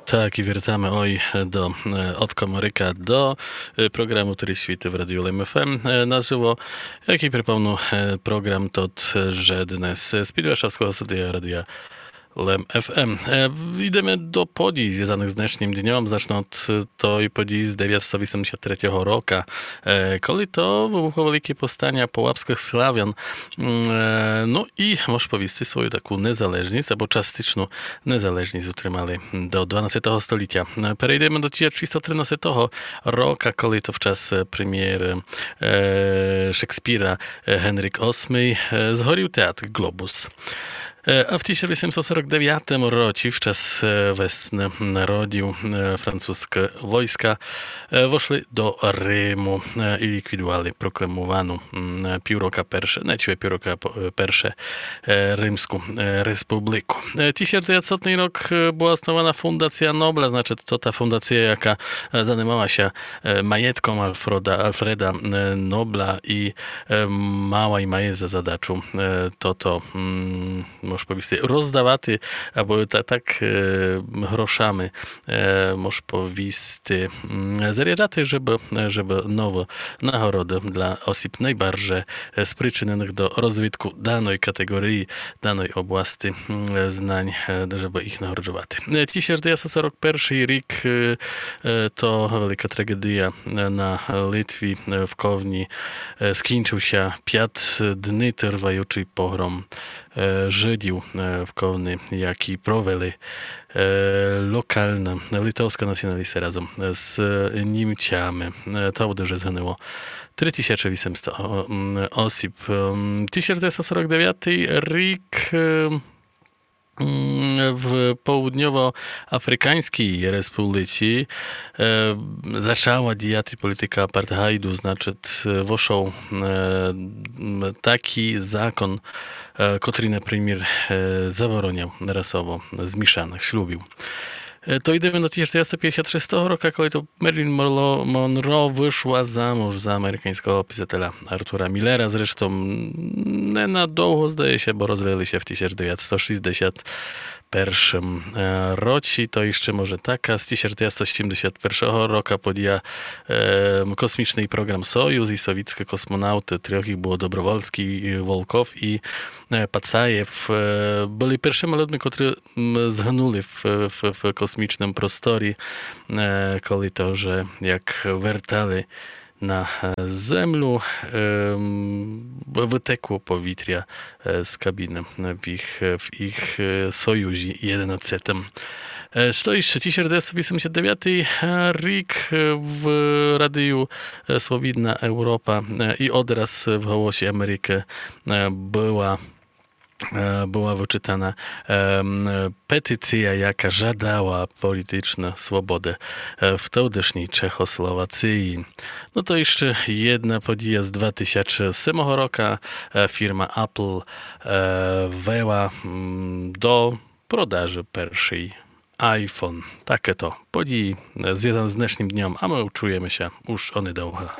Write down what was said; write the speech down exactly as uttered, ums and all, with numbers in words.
Так, і вертаме ой до е, од комарика до е, програму, котрый світит в Радію Лем ФМ е, нажыво. Якый припомну е, програм тот, же днес з-під Варшавского студія Радія Лем ФМ. Е, Йдеме до подій, звязаных з днешнім дньом. Зачну од е, той подій з девятсто вісемдесят третього рока, е, коли то выбухло велике повстаня полабскых Славян. М, е, Но і мож повісти свою таку незалежность, або частичну незалежность утримали до дванадцятого столітя. Е, Перейдеме до тисяч шістсот тринадцятого рока, коли то в час е, премєры е, Шекспіра е, Генрік Осмый е, згорів театр Глобус. Е, А в тисяч вісемсот сорок девятому році в час е, весны народів е, французькі войска е, вошли до Риму е, і ліквідували прокламовану м, е, піврока перше, не, чи піврока по- е, перше е, Римську е, республіку. Е, Тисяч девятсотый рок е, была основана фундація Нобля, значыт, то та фундація, яка е, занимала ся е, маєтком Альфреда, Альфреда е, Нобля і е, мала і має за задачу е, тото, м, мож повісти, роздавати, або та, так е, грошами, е, мож повісти, м, заряджати, жебы, жебы новы нагороды для осіб найбарже е, спричыненых до розвитку даной катеґорії, даной области м, знань, е, жебы їх нагороджувати. Е, Тисяч девятсот сорок першый рік е, е, то велика траґедія е, на Литві, е, в Ковні е, скінчыв ся пят дни тырваючый погром е, Жыдів е, в Ковні, якый провели е, локална литовска націоналісты разом з Німцями. Е, То буде, же згынуло три тисячы вісемсто о- м, осіб. Ем, Тисяч девятсот сорок девятый рік е, м, в Поудньово-Африканьскій Республіці е, зачала діяти політика апартгайду, значыт, е, вошол е, м, такый закон, е, котрый, напримір, е, забороняв расово змішаных шлюбів. Е, То йдеме до тисяч девятсот пятдесят шестого рока, коли то Мерлін Монро, Монро вышла замуж за американьского писателя Артура Мілера. Зрештом не на довго, здає ся, бо розвели ся в тисяч девятсот шістдесят першым е, році. То іщы може така, з тисяч девятсот сімдесят першого рока подія е, космічный програм Союз і совітскы космонавты, трьох їх было: Добровольскій, е, Волков і е, Пацаєв, е, были першыма людми, котры м, згынули в, в, в космічным просторі, е, коли то вже як вертали на е, землю, е, м, вытекло повітря е, з кабіны в їх, в їх е, Союзі єдинадцятым. Е, Што іщы? Тисяч девятсот вісемдесят девятый рік е, в радію е, Свобідна Европа е, і одраз в Голосі Америкы е, была е, была вычытана е, м, петиція, яка жадала політычны свободы е, в тогдашній Чехословації. Но то іщы єдна подія з два тисячы семого рока. Е, Фірма Apple е, ввела м, до продажы першый iPhone. Таке то події е, звязаné з днешнім дньом, а мы чуєме ся уж онедовго.